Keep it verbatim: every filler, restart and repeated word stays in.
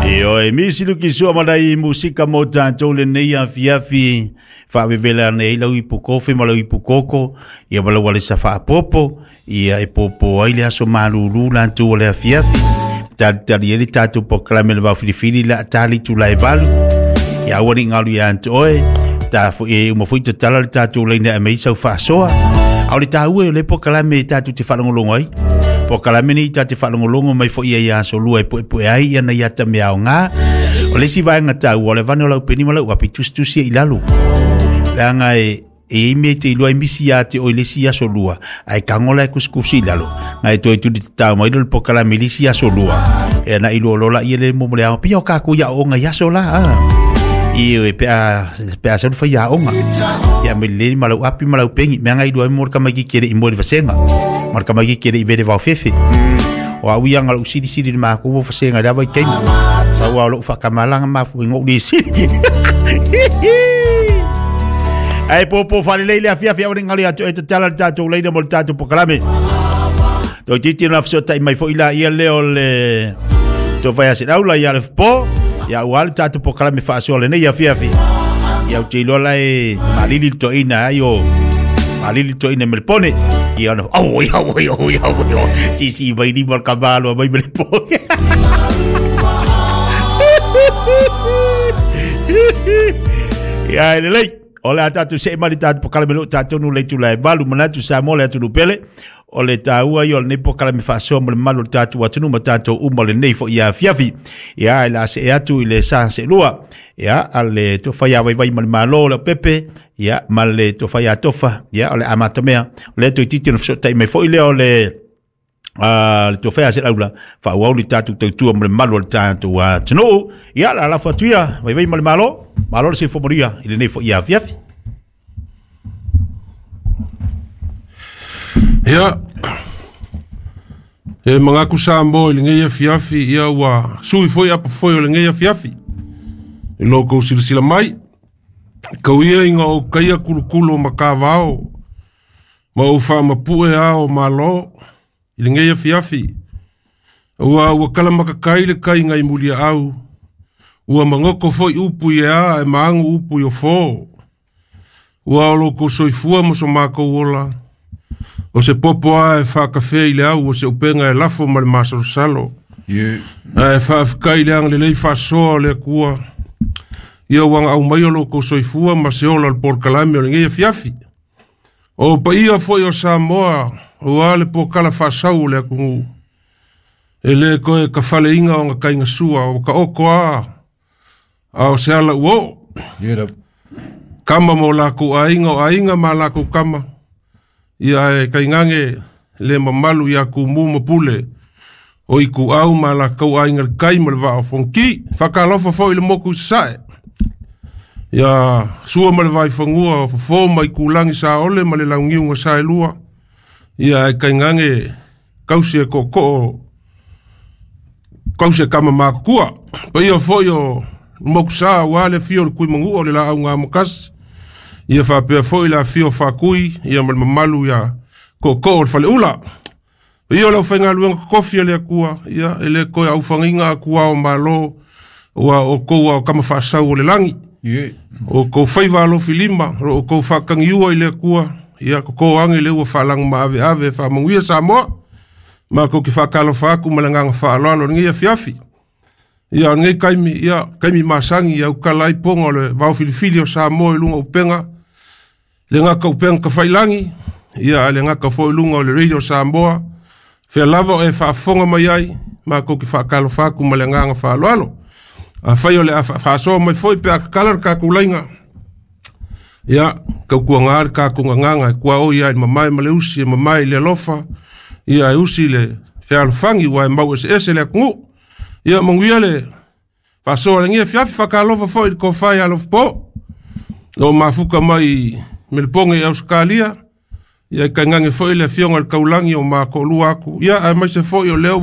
Ioe, misi luki sua malai musika mo tātou le nei afiafi whaawewela nei lau ipu kofi ma lau ipu koko ia ma lau alesa whaapopo ia e popo ai le aso malulu lantu o le afiafi tali tali ele tātou pokalame le wawhiliwhili la tali tula e valu ia awani ngalu ia antu oe ta fo e uma foi te tala le tātou leina e meisa u whaasoa au le tāue o le pokalame tātou te whalongolongo ai pokalame ni tā te whalongolongo mai fo ia ia aso lua e po e po e ai ia na ia ta mea o ngā o le si vaenga tāu o le vane o lau peni ma lau api tusitusi e ilalu leanga e e ime te ilua misi ia te o le si aso lua ai kangola e kuskusi lalo ngai toi tuli te tau mai le pokalame le si aso lua e na ilua lola ia le mo le ao pia o kākou ia o ngai aso la a i e pe a pe a salu fai aoga ia me le ma lau api ma lau pengi mea ngai lua mo ka mai kere i mo le vasenga ma ka mai kere i vele vao fefe o au ia ngalo sili sili le ma ko vasenga le vai keimi sa wa lo fa kamalanga ma fu ngo le sili ai popo fa le le afia afia o ngali atu e te tala le tatou leina mo le tatou pokalame to titi na fso tai mai fo ila ia le o le to vai ase aula ia le po ia ua le tatou pokalame faasoa lenei afiafi ia o te iloa lae malili le toeina ai o malili le toeina me le pone ia ona au ia au ia au ia au sisi mai lima le kamalo mai me le pone ia e lelei o le a tatou see mai le tatou pokalame loo tatou nu le itula e valu manatu Samoa le atunuu pele o le tāua i o lenei pokalame faasoa ma le malu o le tatou atunuu ma tatou uma lenei foi ia afiafi ia e la see atu i le sa seelua ia a le tofai a vaivai ma le malo o le pepe ia ma le tofai a tofa ia o le amatamea o le toititi ona fesotai mai foi lea o le a le tofai a selaula faauau le tatou tautua ma le malu o le tatou atunuu ia la lafo atu ia vaivai ma le malo malo le soifua manuia i lenei foi ia afiafi. Ia, e mangaku Samoa i lenei afiafi, ia ua sui foi apa foi o lenei afiafi. I loko silasila mai, kau ia inga o kaia kulukulu o makavao, ma o whaamapue ao malo, i lenei afiafi. Ua ua kalamakakai le kai ngai mulia au, ua mangoko foi upu i ea e maangu upu i o fō. Ua o loko soifua mo so mākou ola, o se popo a e whaakawhea i le au o se upenga e lafo ma le masalosalo. Yeah. A e whaafkai le anga lelei whaasoa o le akua. Ia wanga au mai o loko soifua ma se ola le polokalame o lenei afiafi. O paia foi o Samoa, o a le pokala whaasau o le akungu. E le koe ka whaleinga o nga kainga sua, o ka oko a, a o se ala uo. Yeah. Kama mo lako ainga o ainga ma lako kama. Ia e kaingange le mamalu ia ku mu mapule o i ku au ma la kau ainga le kai ma le vaa o fonki whakalofa fo i le moku sae ia sua ma le vai whangua o fofo mai ku langi sa ole ma le laungiunga sa e lua ia e kaingange kausi e koko kausi e kama makua pa ia fo i o moku sa ua le fio le kui mangu o le la au ngā mokasi ia whapea foi la fio whakui, ia ma le mamalu ia koko o le faleula. Ia o lau whainga luenga kofi le akua, ia ele koe au whanginga akua o malo, ua o koua o kama whaasau o le langi. Yeah. O kou whaiva alofi lima, o kou whakangiua i le akua, ia koko ange le ua whalangu ma ave ave whamanguia Samoa, ma kou ki whakalo whaaku ma le nganga whaaloalo ngi afiafi. Ia ngai kaimi, ia kaimi masangi, ia ukala iponga o le vau filifili o Samoa i lunga upenga, le ngaka upenga ka whailangi, ia le ngaka fo i lunga o le radio Samoa, whea lava o e whaafonga mai ai, ma kou ki whakalo whaaku ma le nganga whaaloalo. A whai o le whaasoa mai foi pe a kakala le kākulainga. Ia, kau kua ngā le kākunga nganga, kua o ia i mamae ma le usi, e mamae i le alofa, ia e usi le whealofangi, ua e mau ese ese le akungu. Ia manguia le whaasoa le ngia fiafi whakalofa foi le kōwhai alofa po. O mafuka mai Meleponge i Auskalia, ia i kaingange foi le fionga le kaulangi o mā ko'olua aku. Ia ae maise foi o lea ua